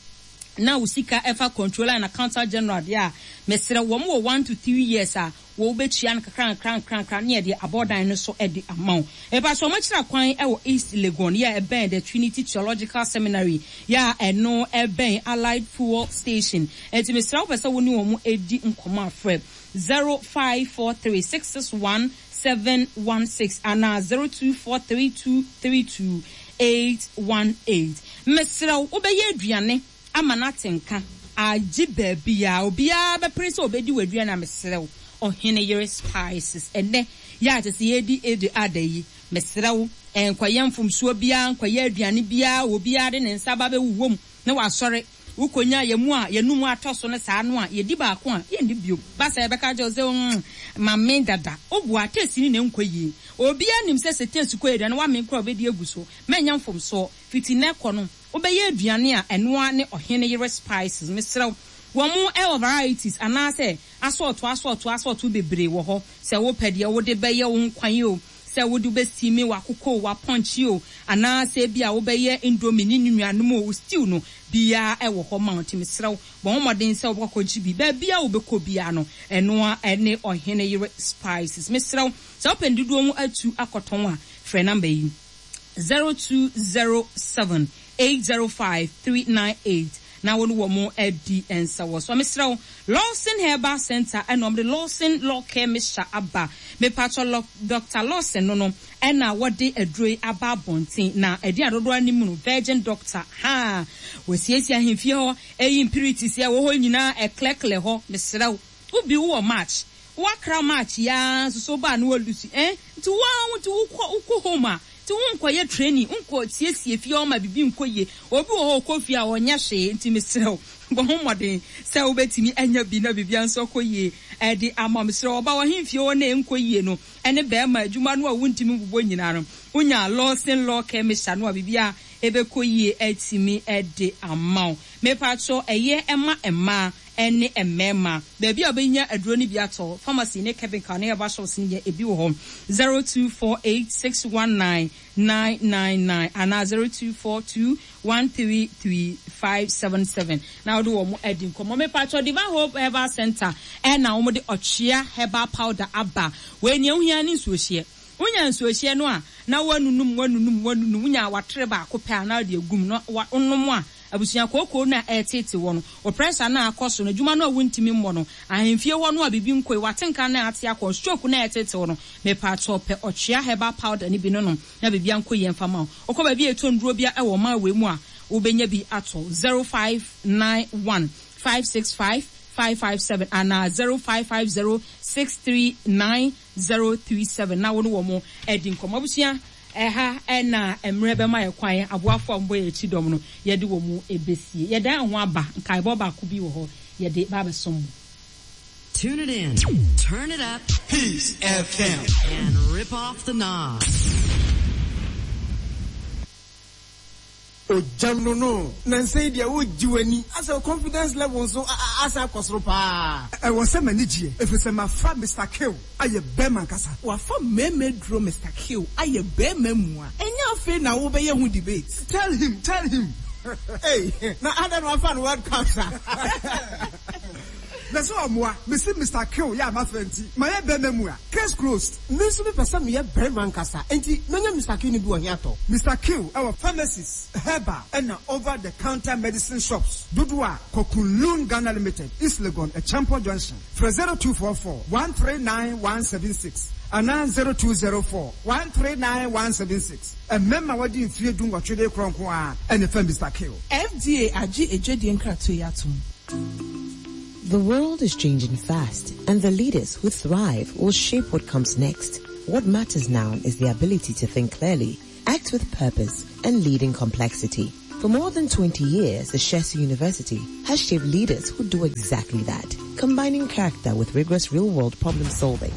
na wo sika fa Controller and Accountant General deɛ a, mesrɛ wo, wɔn wɔ one to three years a Wɔbɛtua no kakrankrankrakra ne yɛde abɔdan no so de ama wo. Mepakyɛ wɔn akyira kwan wɔ East Legon yɛ a ɛbɛn The Trinity Theological Seminary yɛ a ɛno ɛbɛn Allied Fuel Station. Enti mesrɛ wopɛ sɛ wo ne wɔn di nkɔmmɔ a frɛ 0543 661 716 anaa 0243 232 818. Mesrɛ wo wobɛyɛ aduane ama no ate nka agye baabiaa obiaa bɛpere sɛ ɔbɛdi w'aduane a mesrɛ wo ɔhene yere spices ɛnɛ yɛ a kyɛsɛ yɛredi Eid Adha yi mesrɛ wo nkɔyɛ mfomsoɔ biaa nkɔyɛ aduane biaa obiaa de ne nsa ba bɛwowɔ mu na wasɔre wokɔnya yɛn mu a yɛnum atɔ so no saa no a yɛdi baako a yɛnni bio ba saa yɛbɛka akyerɛ wo sɛ mm mame dada woboa taste no na ɛnkɔ yie obiaa nim sɛ sɛ taste kɔ yie aduane wamee koraa wobɛdi agu so mɛnyɛ mfomsoɔ fiti nnɛ kɔ no Wobɛyɛ aduane a ɛno ara ne ɔhene yere spices. Mesrɛ wo, wɔn wɔ varieties anaasɛ asɔɔto asɔɔto asɔɔto bebree wɔ hɔ. Sɛ wopɛ deɛ wode bɛyɛ wo nkwan o, sɛ wode wobɛ steame w'akokɔ o, w'apɔnkye o, anaasɛ ebia wobɛyɛ indomie ne ne nuanom o, wo stew no biara wɔ hɔ ma wo. Nti mesrɛ wo, bɔ ho mmɔden sɛ wobɛkɔ akɔgye bi. Baabiara a wobɛkɔ biara no, ɛno ara ne ɔhene yere spices. Mesrɛ wo, sɛ wopɛ ne dodoɔ mu atu akɔtɔn a, frɛ number yi. 0207 805 398 na wo ne wɔn adi nsawɔsoɔ. Mesrɛ wo, Lawson Herbal Center ɛna wɔde Lawson Law Care Mixture aba. Mepakyɛ Doctor Lawson no no ɛna wɔde aduro yi aba abɔnten na ɛde adodoɔ anim no Virgin Doctor haa wɔasiesie ahemfie hɔ ɛyi impurities ɛwɔ hɔ nyinaa ɛklɛklɛ hɔ. Mesrɛ wo, wo bi wowɔ March Woakra match yi ara nso so wobaa na woalusi eh nti wo ara wo nti wokɔ wokɔ home a nti wonkɔ yɛ training wonkɔ siesie fie hɔ ma biribi nkɔ yie obi wɔ hɔ ɔkɔ fie a ɔnyɛ hwee nti mesrɛ wo bɔ ho mmɔden sɛ wobɛtumi anya bi na biribiara nso akɔ yie ɛde ama wo mesrɛ wo ɔba w'ahemfie hɔ na ɛnkɔ yie no ɛne bɛrima adwuma no a wontumi mbobɔ nyinaa no wonya Lawson Law Care Mixture no a biribiara ɛbɛkɔ yie atumi de ama wo mepakyɛw ɛyɛ ɛma mmaa ne mmarima. Baabi a wobɛnya aduro no bi atɔ, pharmacy ne chemical ne herbal shops no nyɛ ebi wɔ hɔ, 0248 619 999 anaa 0242 133 577 na wode wɔn adi nkɔmmɔ. Mepakyɛw, Divine Hope Herbal Center na wɔde Ɔtwea Herbal Powder aba. Wei nea wohia ne nsuohyeɛ. Wonya nsuohyeɛ no a, na woanunum, woanunum, woanunum, wonya watere baako pɛ a na wode agu mu na wonom a, abusua kookoo no a ɛreteete wɔ no, wo pressure no a akɔ soro no, adwuma no a wontumi mmɔ no, ahemfie hɔ no a biribi nkɔ yi, w'atenka no a ate akɔ, stroke no a ɛreteete wo no, mepaakyɛw pɛ ɔtwea herbal powder no bi no nom na biribiara nkɔ yie mfa ma wo. Wokɔ baabi a yɛtɔ nnuro biara wɔ ɔman wei mu a, wobɛnya bi atɔ. 0591 565 557 anaa 0550 639 037 na wo ne wɔn adi nkɔmmɔ. Abusua, ɛha na mmerɛ bɛma yɛ kwan, aboafoɔ a wɔbɔ yɛn akyi dɔm no, yɛde wɔn bɛsie. Yɛdan yɛn ho aba, nkaebɔ baako bi wɔ hɔ, yɛde ba abɛsom mo. Tune it in, turn it up. Peace FM. And rip off the knob. Ogyam no no, nansa yi deɛ wogye w'ani. Asɛ wo confidence level nso asan akɔ soro paa. Ɛwɔ sɛ m'ani gyeɛ ɛfiri sɛ mafa Mister Kill ayɛ bɛɛma ankasa. Wafa mmarima aduro Mister Kill ayɛ bɛɛma mua. Ɛnyɛ. Ɛnyɛ afei na wobɛyɛ ho debate. Tell him, tell him. Ei, na adɛn na wafa no World Cup saa? Na sɛ ɔmmoa, mese Mister Kill yɛ a mafa nti, mayɛ bɛrima mua. Case closed. Me nso mepɛ sɛ meyɛ barima ankasa, enti mɛnya Mister Kill no bi wɔ he atɔ? Mister Kill wɔ pharmacies, herbal ɛna over the counter medicine shops dodoɔ a kɔ Kunlun Ghana Limited, East Legon, Acheampong Junction. Frɛ 0244 139 176 anaa 0204 139 176. Mmarima a wɔadi mfeɛ dunwɔtwe de rekorɔ nko ara na ɛfa Mister Kill. FDA agye adwadie nkratoɔ yi atom. The world is changing fast, and the leaders who thrive will shape what comes next. What matters now is the ability to think clearly, act with purpose, and lead in complexity. For more than 20 years, the Shesi University has shaped leaders who do exactly that, combining character with rigorous real-world problem solving.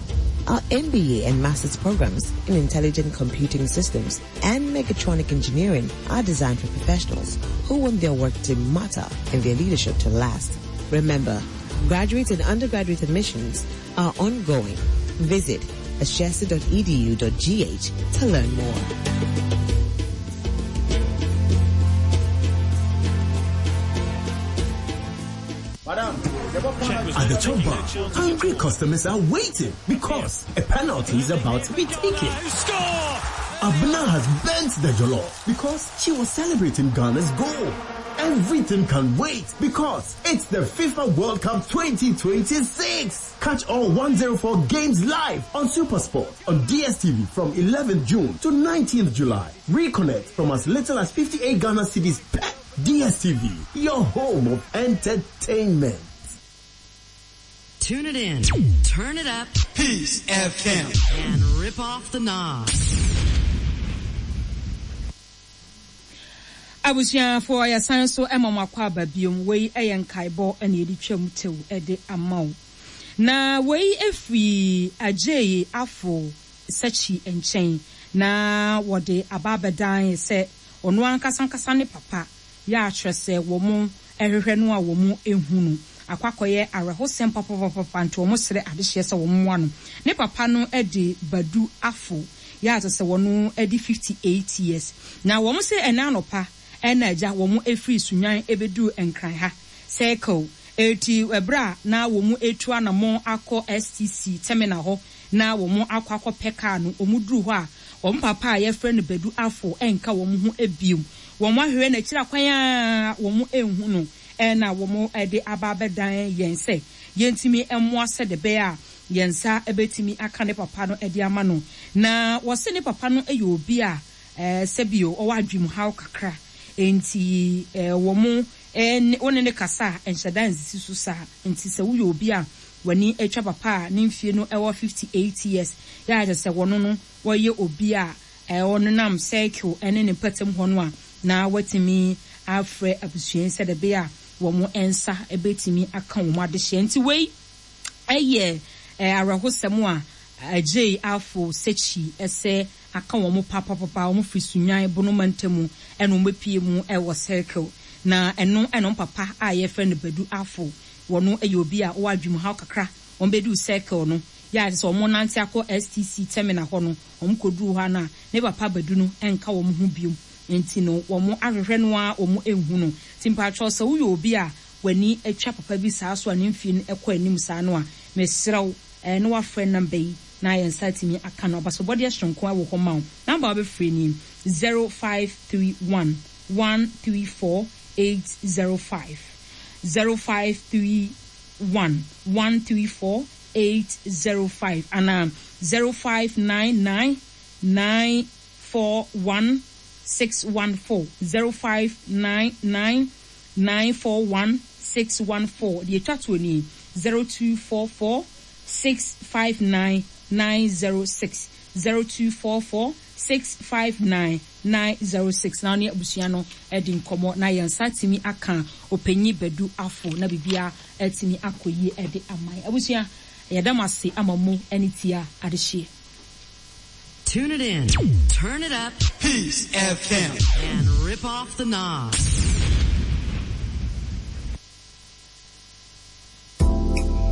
Our MBA and master's programs in intelligent computing systems and mechatronic engineering are designed for professionals who want their work to matter and their leadership to last. Remember, graduate and undergraduate admissions are ongoing. Visit ashesi.edu.gh to learn more. At the chop bar, hungry customers are waiting because a penalty is about to be taken. Score! Abna has burnt the jollof because she was celebrating Ghana's goal. Everything can wait because it's the FIFA World Cup 2026. Catch all 104 games live on Supersport on DSTV from 11th June to 19th July. Reconnect from as little as 58 Ghana cedis per DSTV, your home of entertainment. Tune it in, turn it up. Peace FM. And rip off the knobs. Abusuafoɔ yɛsan nso ma mo akwaaba biom, wei yɛ nkaebɔ na yɛde twam tew de ama wo. Na wei firi Adjei Afo Sakyi nkyɛn na wɔde aba abɛdan sɛ ɔno ankasa ankasa ne papa yɛ a kyerɛ sɛ wɔn hwehwɛ no a wɔn hu no akɔ akɔyɛ awerɛhosɛm papapapapa nti wɔn srɛ adehyeɛ sɛ wɔn mmoa no. Ne papa no de Badu Afo yɛ a kyerɛ sɛ wɔn adi 58 years na wɔn se ɛnɛ anɔpa na agya wɔn firi Sunyani bɛduru Nkran ha Circle eti ɛberɛ a na wɔn retu anamɔn akɔ STC terminal hɔ na wɔn akɔ akɔpɛ car no wɔn duru hɔ a wɔn papa a yɛfrɛ no Badu Afo nka wɔn ho biom wɔn ahwehwɛ n'akyiri akwan a wɔn nhu no na wɔn de aba abɛdan yɛn sɛ yɛntumi mmoa sɛdeɛ ɛbɛyɛ a yɛn nsa bɛtumi aka ne papa no de ama no. Na wɔse ne papa no yɛ obi a sɛbio ɔwɔ adwemuhaw kakra, enti wɔn ne wo ne no kasa a ɛnhyɛ da nsisi so saa. Enti sɛ woyɛ obi a w'ani atwa papa a ne mfie no wɔ 58 years yɛ a kyerɛ sɛ wɔno no wɔyɛ obi a ɔnenam circle ne ne mpɔtam hɔ no a, na watumi afrɛ abusua yi sɛdeɛ ɛbɛyɛ a wɔn nsa bɛtumi aka wɔn adehyeɛ. Nti wei yɛ awerɛhosɛm a Adjei Afo Sekyi sɛ aka wɔn papapapa, wɔn firi Sunyani Bono mantamu na wɔn bɛpue mu wɔ Circle. Na ɛno na wɔn papa a yɛfrɛ no Badu Afo, wɔno yɛ obi a ɔwɔ adwemuhaw kakra, wɔn bɛduu Circle no, yɛ a kyerɛ sɛ wɔn nante akɔ STC terminal hɔ no, wɔn kɔduruu hɔ a na ne papa Badu no nka wɔn ho biom, nti no wɔn ahwehwɛ no ara wɔn nhu no. Nti mpakyɛw sɛ woyɛ obi a w'ani atwa papa bi saa so a ne mfie no kɔ anim saa no a, mesrɛ wo na woafrɛ number yi na yɛn nsa atumi aka no. Abasobɔdeɛ soronko wɔ hɔ ma wo. Number a wobɛfrɛ nie, 0531 134 805, 0531 134 805 anaa 0599 941 614, 0599 941 614. Deɛ ɛtwa toɔ nie, 0244 659 906, 0244 659 906. Na wo ne abusua no adi nkɔmmɔ na yɛn nsa atumi aka Ɔpanyin Badu Afo na biribiara atumi akɔ yie de ama yɛn. Abusua, yɛda mo ase ama mo ani tia adehyeɛ. Tune it in, turn it up. Peace FM. And rip off the knobs.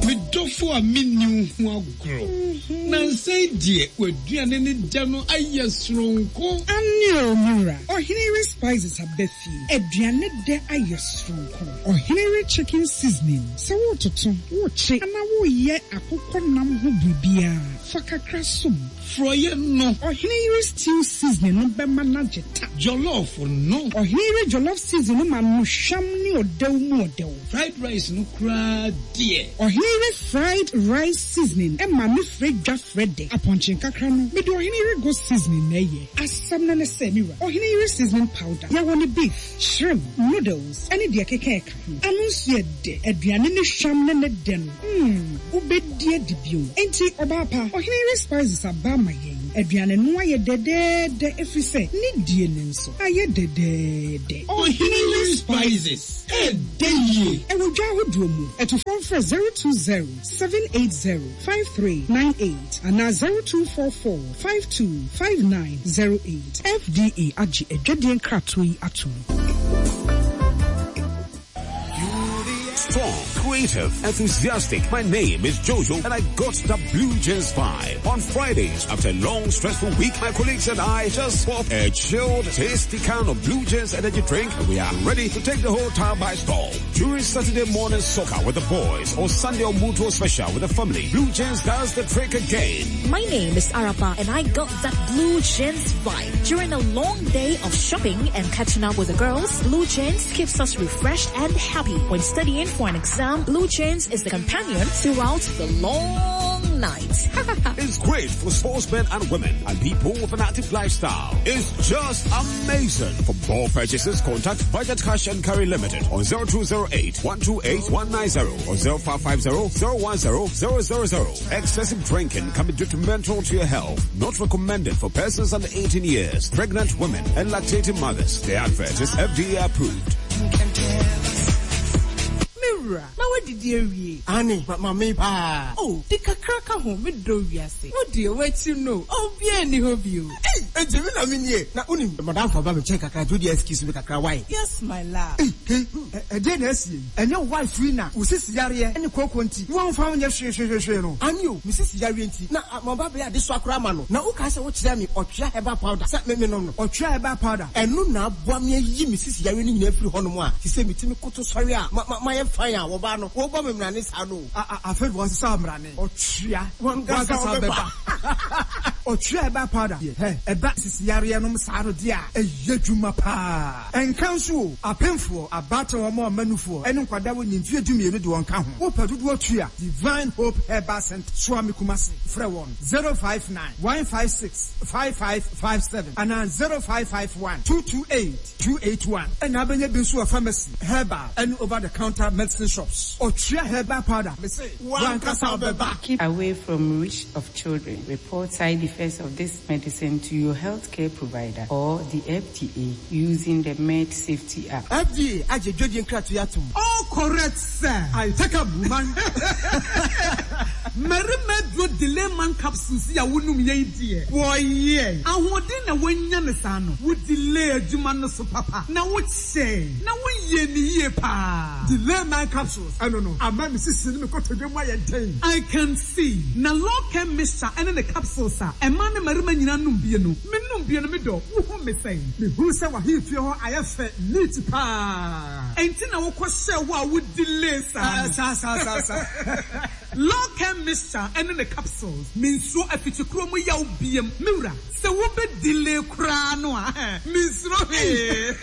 Medɔ Ɔdɔfo a minni wo ho agorɔ. Nnansa yi deɛ w'aduane ne dɛ no ayɛ soronko. Aane o me wura, Ɔhene Yere Spices aba fie, aduane dɛ ayɛ soronko. Ɔhene Yere Chicken Seasoning, sɛ woretoto, worekye anaa woreyɛ akokɔ nam ho biribiara, fa kakra som. Frɔeɛ no. Ɔhene Yere Stew Seasoning no bɛma no agye ta. Jollof no. Ɔhene Yere Jollof Seasoning no ma no hwam ne ɔdɛw mu ɔdɛw. Fried rice no koraa deɛ. Ɔhene Yere Fried Rice Seasoning ma me frɛ dwa frɛ dɛ. Apɔnkye nkakra no, mede Ɔhene Yere Goat Seasoning na ɛyɛ. Asɛm no ne sɛ, me wura, Ɔhene Yere Seasoning Powder, yɛwɔ no beef, shrimp, noodles, ne deɛ ɛkeka ɛka ho. Ano nso yɛ dɛ. Aduane no hwam ne ne dɛ no, mm, wobɛdi adi bio. Enti, ɔbaa pa, Ɔhene Yere Spices aba ama yɛn. Aduane no ayɛ dɛdɛɛdɛ ɛfiri sɛ ne die no nso ayɛ dɛdɛɛdɛ. Ɔhene Yere Spices, ɛɛdɛ yie. Ɛwɔ dwa ahodoɔ mu. Atufoɔ mfrɛ 020 780 5398 anaa 0244 52 5908. FDA agye adwadie nkratoɔ yi atom. Strong, creative, enthusiastic. My name is Jojo and I got the Blue Jeans vibe. On Fridays, after a long, stressful week, my colleagues and I just pop a chilled, tasty can of Blue Jeans energy drink and we are ready to take the whole town by storm. During Saturday morning soccer with the boys or Sunday or Mutual special with the family, Blue Jeans does the trick again. My name is Arapa and I got that Blue Jeans vibe. During a long day of shopping and catching up with the girls, Blue Jeans keeps us refreshed and happy. When studying for an exam, Blue Jeans is the companion throughout the long night. It's great for sportsmen and women and people with an active lifestyle. It's just amazing. For more purchases, contact Budget Cash and Carry Limited on 0208 128 190 or 0550 010 000. Excessive drinking can be detrimental to your health. Not recommended for persons under 18 years, pregnant women, and lactating mothers. The advert is FDA approved. Me wura, na woadidi awie? Aane, ma mamee paa. Oh, di kakra ka ho, me dɔ wiase. Wo deɛ, w'akyi no, obiara nni hɔ bio. Ei, enti me na me nie? Na wonim, madamfo aba me nkyɛn kakra, nti wo deɛ excuse me kakra, wai? Yes, my love. Ei, hei, ɛdeɛn na asie yi? Ɛnyɛ wo wife yi na wo sisi yareɛ ne kooko nti woamfa wo nyɛ hwee hwee hwee no? Aane o, me sisi yareɛ nti na maba abɛyɛ adesoa koraa ama no. Na wokae sɛ wokyerɛɛ me ɔtwea herbal powder sɛ me menom no? Ɔtwea herbal powder? Ɛno na aboa me ayi me sisi yareɛ no nyinaa afiri hɔnom a seisei metumi koto sɔre a ma ma mayɛ fine a wɔbaa no wɔbɔ me mmrane saa no o. A a afei de wɔasesa wo mmrane. Ɔtwea Wankasa wankasa wobɛba. Ɔtwea herbal powder deɛ, hɛ, ɛba sisi yareɛ nom saa no deɛ a, ɛyɛ adwuma paa. Ɛnka nso o, apemfoɔ, abaatan a wɔma nufoɔ, ne nkwadaa a wɔnni mfeɛ dumienu de wɔn ka ho. Wopɛ dodoɔ tua Divine Hope Herbal Centre, Suame Kumasi. Frɛ wɔn 059 156 5557 anaa 0551 228 281. Ɛna abɛnya bi nso wɔ pharmacy, herbal ne over the counter medicine shops. Ɔtwea herbal powder, mese w'ankasa wobɛba. Keep away from reach of children. Report side effects of this medicine to your healthcare provider or the FDA using the Med Safety app. FDA agye dwadie nkratoɔ yi atom. All correct sir. I take up woman. Mmarima aduro delay man capsules yi a wonom yɛ yi deɛ wɔyɛ. Ahoɔden na woanya no saa no, wo delay adwuma no so papa na wo kyɛe na wo yɛ no yie paa. Delay man capsules ɛno no ama me sisi ne me kotodwe mu ayɛ den. I can see. Na law chem mixture ɛne ne capsules a ɛmaa ne mmarima nyinaa nom bie no, me nom bie no me dɔ, wo hu me sɛn? Me hunu sɛ w'ahemfie hɔ ayɛ fɛ neat paa. Ɛnti na wo kɔ hyɛɛ hɔ a wo delay saa no. Saa saa saa saa. Law chem mixture ɛne ne capsules, me nsuro afikyikuro mu yaw biem, me wura. Sɛ wo bɛ delay koraa no a, me nsuro hwee.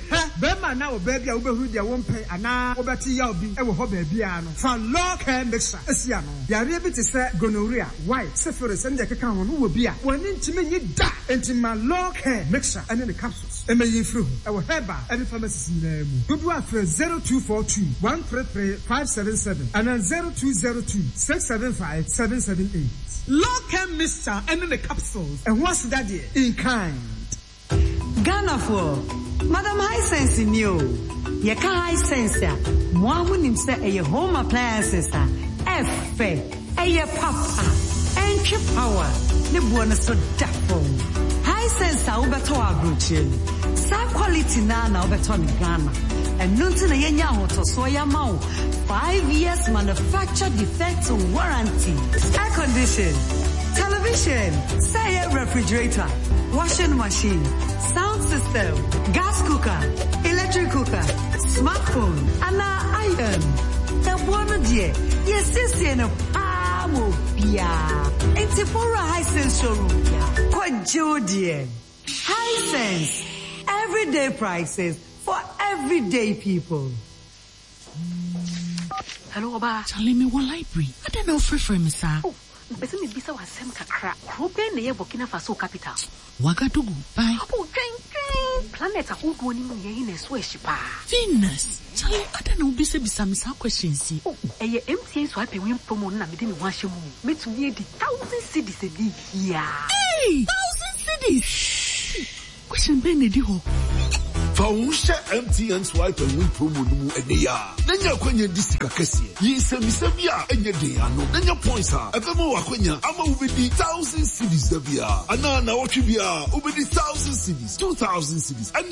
Hɛ, barima anaa ɔbaa bi a wobɛhunu deɛ wompɛ anaa wobɛte yaw bi wɔ hɔ baabiara no, fa Law Care Mixture si ano. Yareɛ bi te sɛ gonorrhea, white, syphilis ne deɛ ɛkeka ho no wɔ bi a, w'ani ntumi nnye da. Enti ma Law Care Mixture ne ne capsules mmɛyi mfiri ho. Ɛwɔ herbal ne pharmacies nyinaa mu. Dodoɔ a frɛ 0242 133 577 anaa 0202 675 778. Law Care Mixture ne ne capsules. Ɛho aseda deɛ, in kind. Ghanafoɔ, Madam Hisense nie o. Yɛka Hisense a, mo ara monim sɛ ɛyɛ home appliances a ɛfɛ, ɛyɛ papa, ɛntwe power, ne boɔ no so da fam. Hisense a wobɛtɔ wɔ aburokyire no, saa quality no ara na wobɛtɔ no Ghana. Ɛno nti na yɛanya ahotɔsoɔ yi ama wo. 5 years manufacture defect warranty. Air condition, television, sɛ ɛyɛ refrigerator, washing machine, sound system, gas cooker, electric cooker, smartphone anaa iron. Ɛboɔ no deɛ, yɛsiesie no paa ma obiara. Enti bɔ wura Hisense showroom kɔgye wo deɛ. Hisense, everyday prices for everyday people. Hello, ɔbaa. Charlie, me wɔ library. Adɛn na wofrɛfrɛ me saa? Oh, mepɛ sɛ mebisa wo asɛm kakra. Kuro bɛn na ɛyɛ Burkina Faso capital? Ouagadougou, bye. Oh, twɛn, twɛn! Planet ahodoɔ no mu nea ɛhe na ɛso ahyi paa? Venus! Charlie, adɛn na wobisabisa me saa questions yi? Oh, ɛyɛ MTN Swipe and Win promo no na mede me ho ahyɛ mu o. Mɛtumi adi thousand cedis ɛnnɛ yi ara. Ei! Thousand cedis! Hey! Question bɛn na ɛdi hɔ? Fa wo ho hyɛ MTN Swipe and Win promo no mu ɛnnɛ yi ara na nya akwanya di sika kɛseɛ. Yi nsɛmmisa bi a ɛnyɛ den ano na nya points a ɛbɛma wo akwanya ama wobɛdi thousand cedis da biara anaa nnawɔtwe biara wobɛdi thousand cedis, 2000 cedis ɛne.